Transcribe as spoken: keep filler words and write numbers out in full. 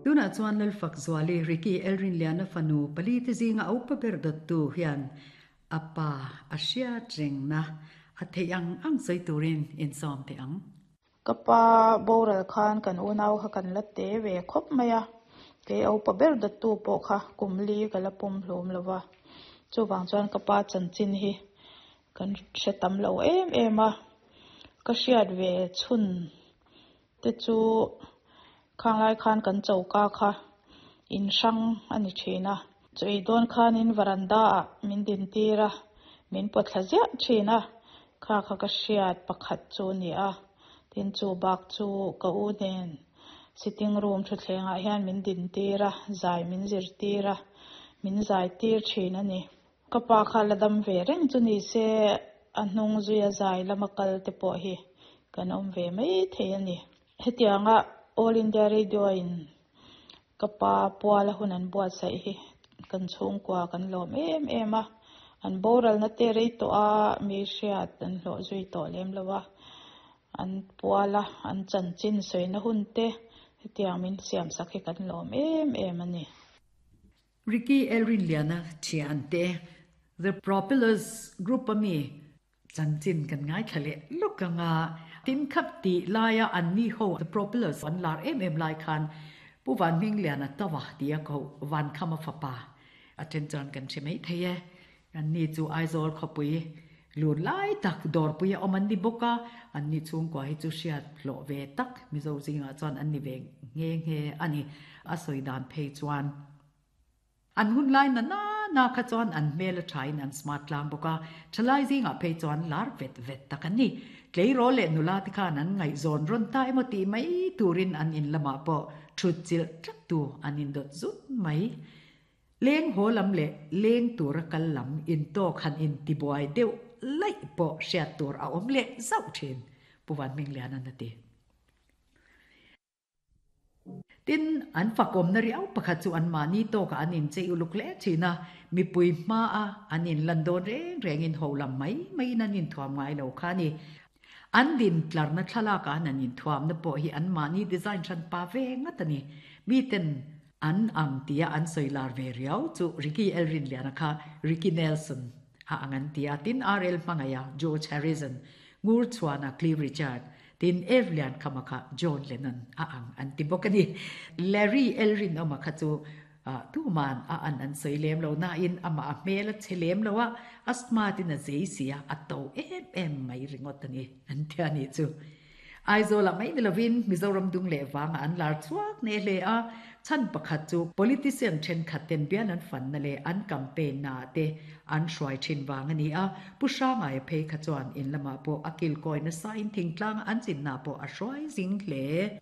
Tunah chuan Lalfakzuali, Ricky Elrinliana fanu pali te zinga a upa ber dawttu hian a pa a hriat rengna a theih ang ang sawi turin insawm teh ang. Ka pa boral khan kan unau kha kan la te ve khawp mai a, kei a upa ber dawttu pawh kha kum li ka la pum hlum lo va. Chuvang chuan ka pa chanchin hi kan hre tam lo em em a, ka hriat ve chhun te chu khanglai khan kan choka kha in hrang a ni thin a, chaw ei dawn khanin varanda ah min din tir a, min pawt thla ziah thin a, kha kha ka hriat pakhat chu a ni a, tin chu bak chu ka u nen sitting room thutthleng ah hian min din tir a, zai min zir tir a, min zai tir thin a ni. Ka pa kha la dam ve reng chu ni se a hnung zuia zai lama kal te pawh hi kan awm ve mai thei a ni. Hetianga All India Radio in ka pa puala hun an buatsaih hi kan chhungkua kan lawm em em a, an boralna te rei tawh a, mi hriat an hlawh zui tawh lem lo a, an puala an chanchin sawina hun te hetiang min siam sak hi kan lawm em em a ni. Ricky Elrinliana thiante The Propellers Group a mi chanchin kan ngaithla leh lawk anga tin khat tih laia an ni ho The Propellers an lar em em lai khan Pu Vanhmingliana tawa tia ko Vankhama fapa a then chuan kan hre mai thei e. An ni chu Aizawl khawpui lun lai tak dawrpui a awm an ni bawk a, an ni chhungkua hi chu hriat hlawh ve tak Mizo zingah chuan an ni ve nghe nghe a ni. A sawi dan phei chuan an hun lai na na na kha chuan an hmel a thain an smart tlang bawk a, thalai zingah phei chuan lar vet vet tak an ni. Tleirawl leh nula te khan an ngaihzawn rawn ta emaw tih mai turin an in lamah pawh thut chilh tlat tu an indawt zut mai. Leng haw lam leh leng tura kal lam intawk han intibuai deuh laih pawh hriat tur a awm leh zauh thin, Pu Vanhmingliana a ti. Tin, an fakawmna riau pakhat chu an mahni tawkah an inchei uluk hle thin a, mipui hmaa an inlan dawn reng rengin ho lam mai maiin an inthuam ngai lo kha a ni. An din tlarna thlalakah an an inthuamna pawh hi an mahni design hran pa ve ngat a ni. Miten an ang tia an sawi lar ve riau chu Ricky Elrinliana kha Ricky Nelson a ang an ti a, tin R L hmangaiha George Harrison, Ngur chhuana Cliff Richard, tin Evlian Khama kha John Lennon a ang an ti bawk a ni. Larry Elrinawma kha chu tuman a an an sawi lem lo nain amah a hmel a che lem lo a, a smart in a zei si a, a to em em mai ringawt a ni an ti a nih chu. Aizawlah mai ni lovin Mizoram dung leh vangah an lar chhuak hneh hle a, chhan pakhat chu politician thenkhat ten bial an fanna leh an campaign naah te an hruai thin vang a ni a, Pu Hrangaia phei kha chuan in lamah pawh a kilkawi nasa in thingtlanga an chinna pawh a hruai zing hle.